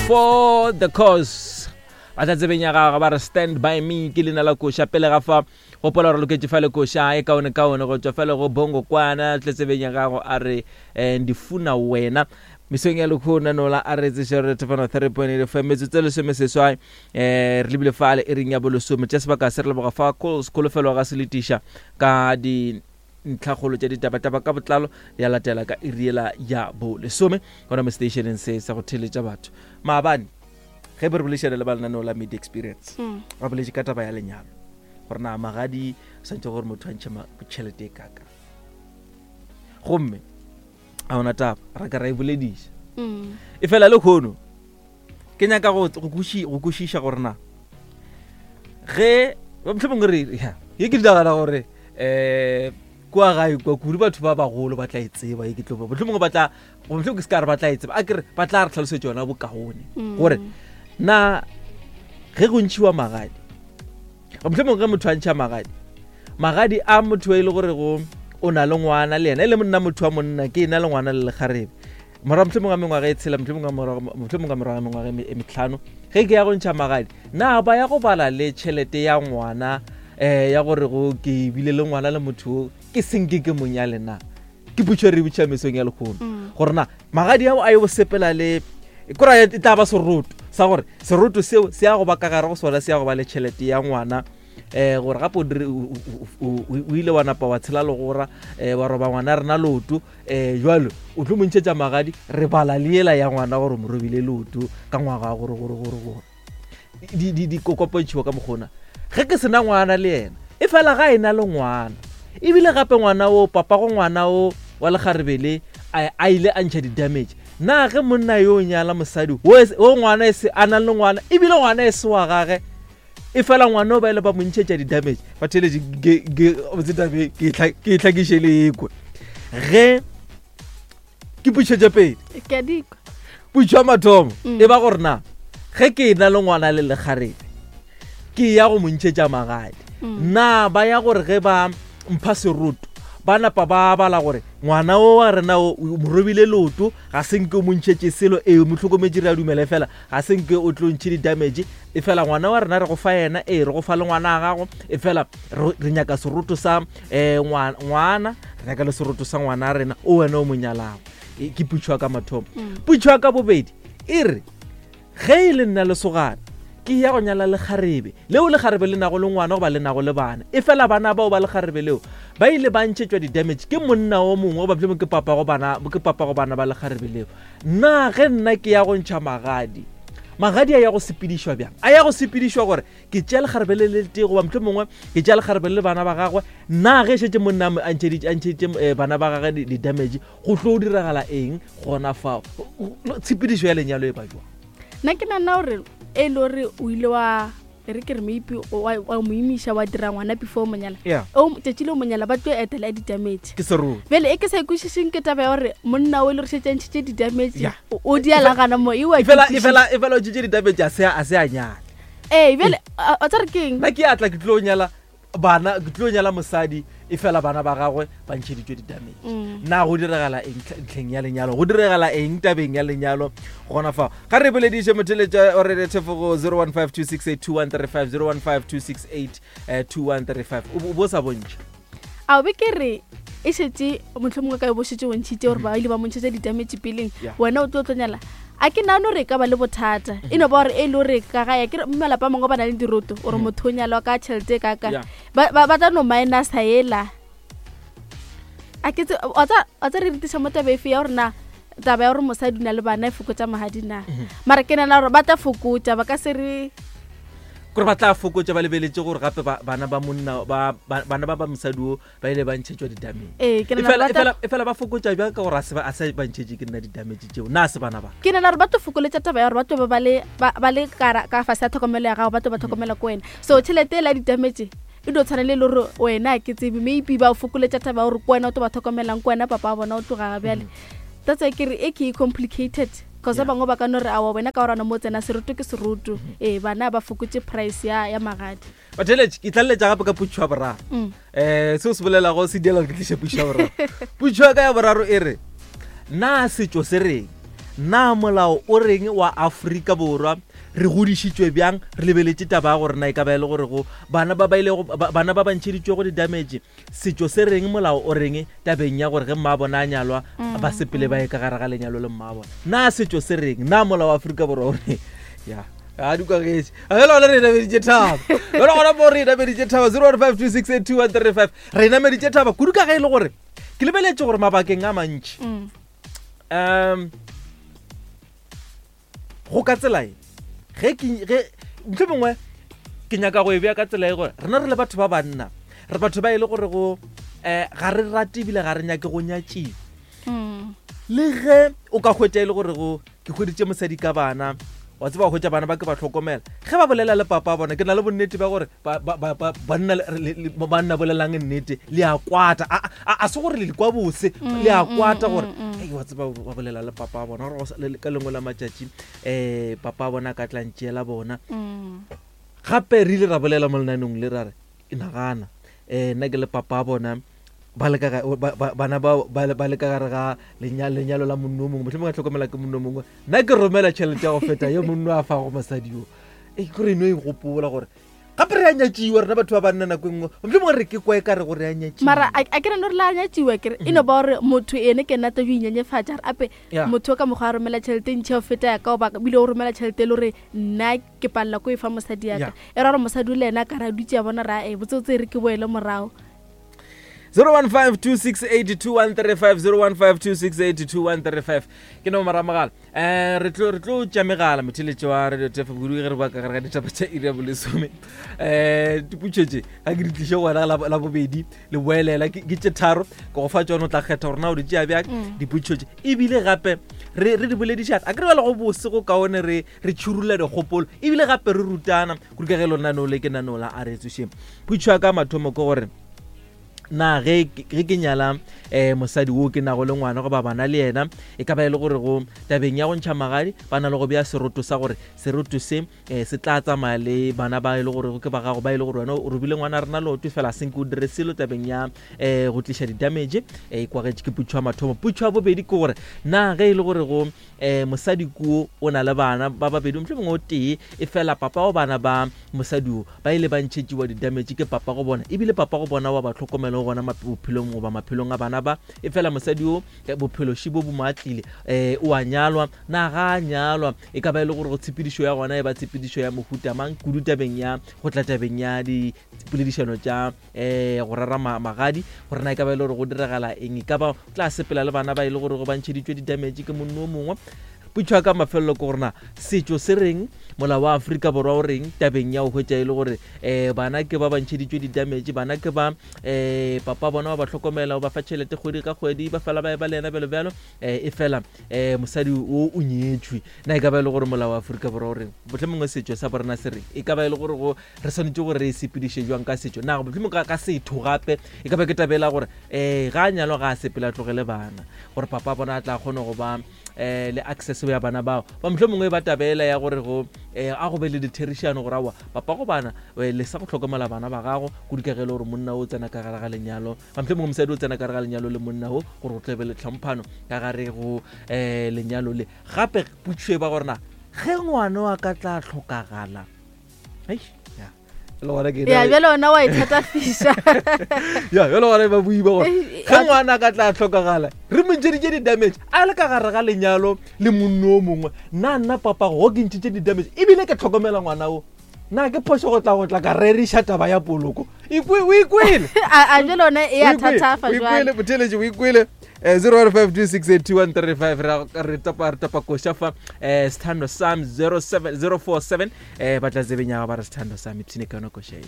For the cause ba tla tsebeng ya gagwe ba re stand by me ke leina la koša pele ga fa gopola gore loketše fa le koša e kaone kaone go tšwa fela go bongo kwana tle tsebeng ya gago a re eh, ndifuna wena mesong ya lekgona nola a re tseše re thefano 3.8 fm metsotso e lesomeseswai um re lebile fale e reng ya bolesome tša sebaka se re leboga fa kholofelo ga se letiša ka di ntlhakgolo tša ditabataba ka botlalo ya latela ka iriela ya bolesome gona mo stationeng se sa go theletša batho maabane ge be re bolešana le ba lenaneo la media experience mm. ba boletše ka taba ya lenyalo gore na magadi swantse gore motho a ntšhe tšhelete e kaka gomme a ona taba ra ka ra e bolediša mm. e fela le kgono ke nyaka go kwešiša gore na ge mohlomongwe re ya ye ke nagana gore um kua gae kwa kudu batho ba bagolo ba tla e tseba ye ke tlo mohlomongwe ba tla mohlomongwe ke se ka re ba tla e tseba a kere ba tla re tlhalosetša yona bokaone mm. gore na ge go ntšhiwa magadi mohlomongwe ge motho a ntšha magadi magadi a motho e le gore go o na le ngwana le yena e le monna motho wa monna ke ena le ngwana le lekgarebe morago mohlomongwe ga mengwaga e tshela mohlomongwe ka morago ga mengwaga e, e metlhano ge ke ya go ntšha magadi na ba ya go bala le tšhelete ya ngwana um ya gore go ke bile le ngwana le motho o ke senke ke monyale na ke putšo re botšha mesong ya lekgono mm. gore na magadi ao a yo sepela le kora e tla ba seroto sa gore seroto seo se ya go ba ka gare go sona se ya go ba le tšhelete ya ngwana eh gore gape o ile wa napa wa tshela legora um wa roba ngwana rena loto um jalo o tlo mo ntšhetša magadi re bala le ela ya ngwana gore mo robile loto ka ngwaga wa gore gore gore gore di kokopontšhiwa ka mokgona ge ke sena ngwana le yena e fela ga e na le ngwana ebile gape ngwana o papa go ngwana o wa lekgarebele a ile a ntšha di-damage na ge monna yo o nyala mosadi o ngwana e se a nang le ngwana ebile ngwana e se wa gage e fela ngwana o ba ile ba mo ntšhetša di-damage ba theletše botse tabe ke e tlhakiše le ekwe ge ke pušetše pedi putšo ya mathomo mm. e ba gore na ge ke na le ngwana le lekgarebe ke ya go mo ntšhetša magadi mm. na ba ya gore ge ba mpha seroto ba napa ba bala gore ngwana o wa rena o mo robile leoto ga se nke o mo ntšhetše selo ee mo tlhokometše re a dumela fela ga se nke o tlo ntšhe di-damage e fela ngwana wa rena re go fa yena ee re go fa le ngwana a gago e fela re nyaka seroto sa um ngwana re nyaka le seroto sa ngwana a rena o wena o mo nyalago e, ke putšho ya ka mathomo mm. putšho ya ka bobedi e re ge e le nna lesogana ke ya go nyala lekgarebe leo lekgarebe le nago le ngwana goba le nago le bana e fela bana bao ba lekgarebe leo ba ile ba ntšhetšwa di-damage ke monna o mongwe goba mohlomong ke papa go bana ke papa go bana ba lekgarebe leo Na ge nna ke ya go ntšha magadi, magadi a ya go sepedišwa bjang? A ya go sepedišwa gore ke tšea lekgarebe le le tee goba mohlomongwe mongwe ke tšea lekgarebe le bana ba gagwe? Na ge šetše monna a ntšheditše eh, bana ba gagwe di-damage, go tlo diragala eng gona fao? Tshepedišo ya lenyalo e ba jwang? Nna ke nana gore e le gore o ile wa e re ke re maybe wa mo imiša wa dira ngwana before o monyala Yeah. o tšatši le o monyala ba tlo etela ya di-damage ke seroto bjale e ke sa ikwešišeng ke taba ya gore monna o e le gore šetše a ntšhitše di-damage Yeah. o- o di alagana mo ewa e fela e fela e fela o tšitše di-damage a se a se a nyala ee bjale a a tsa re ke eng nna ke atla ke tlo nyala bana ke tlo nyala mosadi e fela bana ba gagwe ba ntšheditšwe di-damage mm. na go diragala eng ntlheng ya lenyalo go diragala eng tabeng ya lenyalo gona fa ga re bolediše motheletša o re thefo go 0152682135 0152682135 o bo sa bontšha a be ke re e šetše motlho mongwe ka e bo šetše o ntšhitše gore ba ile ba mo ntšhetša di-damage peleng wena o tlo tlo nyala a ke nagane gore e ka ba le bothata e no ba gore e le gore ka gae ke malapa a mangwe ba na le diroto gore mhm. motho o nyalwa ka tšhelete e kaka ba tla no minusa ela a ke wa tsa re retiša mo taba efe ya gore na taba ya gore mosadi o na le bana e fokotša magadi na mhm. mara ke nana gore ba tla fokotša ba ka se re gore ba tla fokotša ba lebeletse gore gape bana ba monna bana ba ba mosadi o ba ile ba ntšhetšwa di-damage ee ke nagana e gore e fela ba fokotša bjang ka gore a se ba ntšhetše ke nna di-damage tšeo na se bana ba ke nagana gore ba tlo fokoletša taba ya gore ba tlo ba ba le ka fase ya tlhokomelo ya gago ba tlo ba tlhokomela ko wena so tšhelete e la di-damage e dio tshwana le e le gore wena ke tsebe maybe ba fokoletša taba ya gore ko wena o tlo ba tlhokomelang ko wena papa wa bona o tloga bjale that's why ke re e ke e complicated cause ba bangwe ba ka no re awa wena ka gorana mo tsena seroto ke seroto ee bana ba fokotše price ya magadi batheletše ke tlaleletša gape ka putšho ya boraro um seo se bolelago se diela gore ke tliše putšho ya boraro putšho ya ka ya boraro e re na setšo se reng Na molao o reng wa Afrika Borwa? Re godišitšwe bjang? Re lebeletše taba ya gore na e ka ba e le gore go bana ba ba ilego bana ba ba ntšheditšwego di-damage, setšo se reng, molao o reng tabeng ya gore ge mma bona a nyalwa ba sepele ba ye ka gare ga lenyalo le mma bona. Na setšo se reng? Na molao wa Afrika Borwa o reng? Ya. A di kwagetše. A bjale gona re nameditše thaba. Bjale gona mo re nameditše thaba 0152682135. Re nameditše thaba kudu ka ge e le gore ke lebeletše gore mabakeng a mantši um go ka tsela e ge ke ge ntho mongwe ke nyaka go e bea ka tsela e gore rena re le batho ba banna re batho ba e le gore go um ga re rate ebile ga re nyake go nyatšiwa mm. le ge o ka hwetša e le gore go ke hweditše mosadi ka bana wa tseba go hwetša bana ba ke ba hlokomela ge ba bolela le papa bona ke na le bonnete ba gore banna bolelang nnete le a kwata a se gore le kwa bose mm, le a mm, kwata gore mm, ei wa tseba ba bolela le papa bona gore ka lengwe la matšatši um papa bona ka tla ntšeela bona gape re ile ra bolela mo lenaneng le ra re nagana um nna ke le papa bona ba le ka bana ba ba le ka gare ga lenyalo la monno o mongwe mohlomongwe a tlhokomela ke monno o mongwe nna ke romela tšhelete ya go feta ye monno a fago mosadi yo e kore eno e gopola gore gape re a nyatšiwa rena batho ba banna nako e nngwe mohlomongwe re ke kwa e ka re gore a nyatšiwa mara a ke reno re la nyatšiwa kere e no ba gore motho ene ke nna tlo inyenyefatša re ape motho ka mokgwa a romela tšhelete ntšhi ya go feta ya ka goba bile o romela tšhelete e le gore nna ke palela ko e fa mosadi ya ka e ra gore mosadi o le ena ka re a dutse ya bona ra e botsotse re ke boele morago. 0152682135 0152682135 ke nomoro ya mogala um re tlo re tlo tša megala motheletše wa radio tf kudu ge re boa ka gare ga ditaba tša iri ya bolesome. Um diputšo tše ga ke di tliše go wena la bobedi le boelela ke tše tharo ke go fa tsone o tla kgetha gore na o di tšea bjang mm. diputšo tše ebile gape re re di boledišana a ke re bjale go bose go kaone re re tšhurula dikgopolo ebile gape re rutana kudu ka ge lona no le ke nano la a re tsošeng. Putšo ya ka mathomo ke gore na ge ge ke nyala um mosadi wo ke nago le ngwana goba bana le yena e ka ba e le gore go tabeng ya go ntšha magadi ba na le go bea seroto sa gore seroto se um se tla tsamaya le bana ba e le gore ke ba gago ba e le gore wena o robile ngwana rena leoto fela senke o dire selo tabeng ya um go tliša di-damage e kwagetše ke putšho ya mathomo. Putšho ya bobedi ke gore na ge e le gore go um mosadi kuo o na le bana ba babedi mohlomongwe o tee e fela papa wa bana ba mosadi o ba ile ba ntšhetšiwa di-damage ke papa go bona ebile papa go bona wa ba tlhokomela gona bophelong goba maphelong a bana ba e fela mosadi o bophelo šibo bo mo atlile um o a nyalwa na ga a nyalwa e ka ba e le gore go tshepedišo ya gona e ba tshepedišo ya mohuta mang kudu tabeng ya go tla tabeng ya dipoledišano tša um go rera magadi gore na e ka ba e le gore go diragala eng e ka ba tla sepela le bana ba e le gore go ba ntšheditšwe di-damage ke monno o mongwe. Potšo ya ka mafelelo ke gore na setšo se reng, molao wa Afrika Borwa o reng tabeng ya go hwetša e le gore um bana ke ba ba ntšheditšwe di-damage, bana ke ba um papa bona ba ba hlokomela, o ba fa tšhelete kgwedi ka kgwedi, ba fela ba e ba le yena bjalo bjalo, um e fela um mosadi o o nyetšwe. Na e ka ba e le gore molao wa Afrika Borwa o reng? Mohlomongwe setšo sa borena se reng? E ka ba e le gore go re swanetše gore re e sepediše jwang ka setšo? Na mohlomongwe ka setho gape e ka ba ke tabela gore um ga a nyalwa ga a sepele a tlogele bana gore papa bona a tla kgone go ba um le access ya bana bao ba mohlomongwe ba tabela ya gore go um a go be le ditherišano gore aowa papa go bana le sa go hlokomela bana ba gago kudu ka ge e le gore monna o tsena ka gare ga lenyalo ba mohlomongwe mosadi o tsena ka gare ga lenyalo le monna o gore go tle be le tlhomphano ka gare go um lenyalo le. Gape potšišo e ba gore na ge ngwana wa ka tla hlokagala ya bjale ona wa ithatafiša ya bjale gona ba boi ba gore ge ngwana a ka tla tlhokagala re mo ntšheditše di-damage a le ka gare ga lenyalo le monno o mongwe nna nna papa go ke ntšhitše di-damage ebile ke tlhokomela ngwana o na ke phošo go tla go tla ka reriša taba ya poloko o ikwele a jale one e a thatafa jwale botheletše o ikwele 015268235 re tapa re tapa koša fa sethando sam 07047 ba tla tsebeng ya ba re sethando sam ipshine ka yona koša e.